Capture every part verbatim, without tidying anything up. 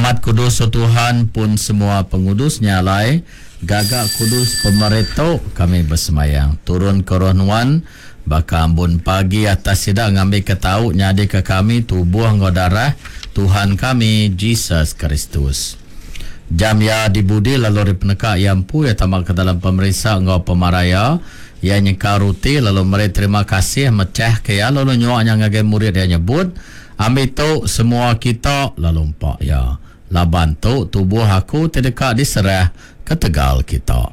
amat kudus, O Tuhan, pun semua pengudus, nya alai, gaga kudus pemeri tu, kami besemayang. Turun ke Roh Nuan, baka ambun pagi atas sida ngambika tau nyadi ke kami tubuh enggau darah Tuhan kami, Jesus Kristus. Jam iya dibudi lalu ari peneka iya empu iya tama ke dalam pemerinsa enggau pemarai iya, iya nyengkau roti lalu meri terima kasih, mechahka iya lalu nyua nya ngagai murid iya nyebut, Ambi tu, semua kita, lalu empa iya, laban tu tubuh aku ti deka diserah ketegal kita.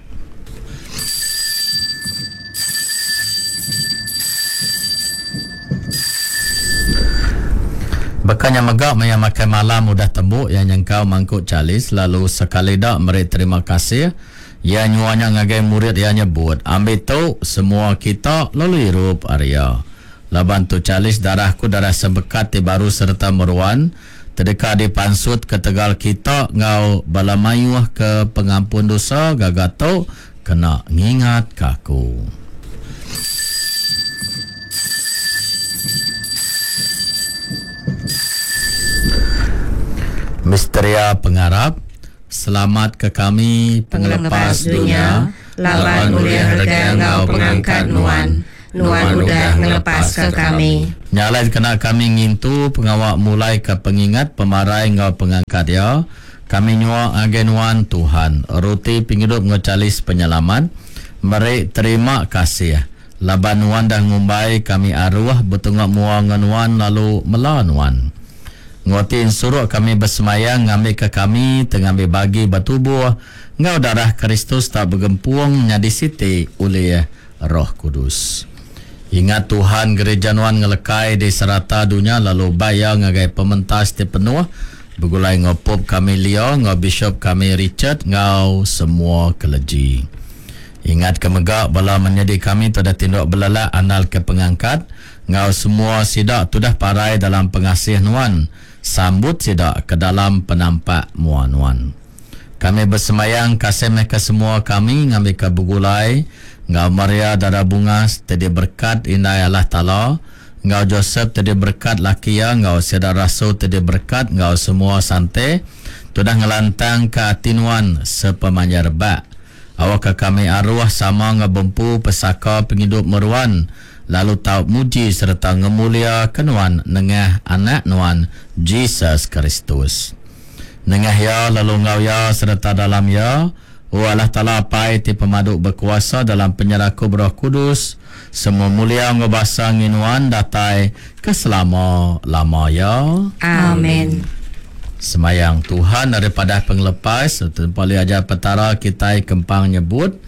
Baka nya mega maya makai malam udah tembu, iya nyengkau mangkuk chalice lalu sekali da meri terima kasih, iya nyua nya ngagai murid iya nyebut, Ambi tu, semua kita, lalu irup ari iya. Laban tu chalice darah aku, darah sempekat ti baru sereta meruan, ti deka dipansut ketegal kita enggau bala mayuh ke pengampun dosa. Gaga tu kena ngingatka aku. Misteria pengarap. Selamatka kami, Pengelepas dunya, laban ulih rega enggau pengangkat Nuan, Nuan udah ngelepaska kami. Nya alai dikena kami ngintu pengawa mulaika pengingat pemarai enggau pengangkat Iya, kami nyua ngagai Nuan, Tuhan, roti pengidup enggau chalice penyelamat, meri terima kasih, laban Nuan dah ngumbai kami aruh betunga mua enggau Nuan lalu mela Nuan. Enggau ti ensuruk kami besemayang ngambika kami ti ngambi bagi ba tubuh enggau darah Kristus tau begempung nyadi siti ulih Roh Kudus. Ingat Tuhan gereja Nuan ngelekai di serata dunya lalu bai iya ngagai pementas ti penuh begulai enggau Pope kami Leo enggau Bishop kami Richard enggau semua keleji. Ingatka mega bala menyadi kami ti udah tinduk belelak andalka pengangkat enggau semua sida ti udah parai dalam pengasih Nuan, sambut sida ke dalam penampak mua Nuan. Kami besembayang kasih meh ke semua kami ngambika begulai enggau Maria Dara Bungas ti diberekat Indai Allah Taala, enggau Josep ti diberekat laki iya, enggau sida rasul ti diberekat enggau semua sante ti udah ngelantangka ati Nuan sepemanjai rebak. Awakka kami aruh sama enggau bempu pesaka pengidup meruan, lalu tau muji sereta ngemuliaka Nuan nengah Anak Nuan, Jesus Kristus. Nengah Iya lalu enggau Iya sereta dalam Iya, O Allah Taala Apai ti pemadu bekuasa dalam penyerakup Roh Kudus, semua mulia enggau basa ngi Nuan datai ke selama-lama iya. Amen. Semayang Tuhan ari padah pengelepas, tempa li ajar Petara kitai kempang nyebut,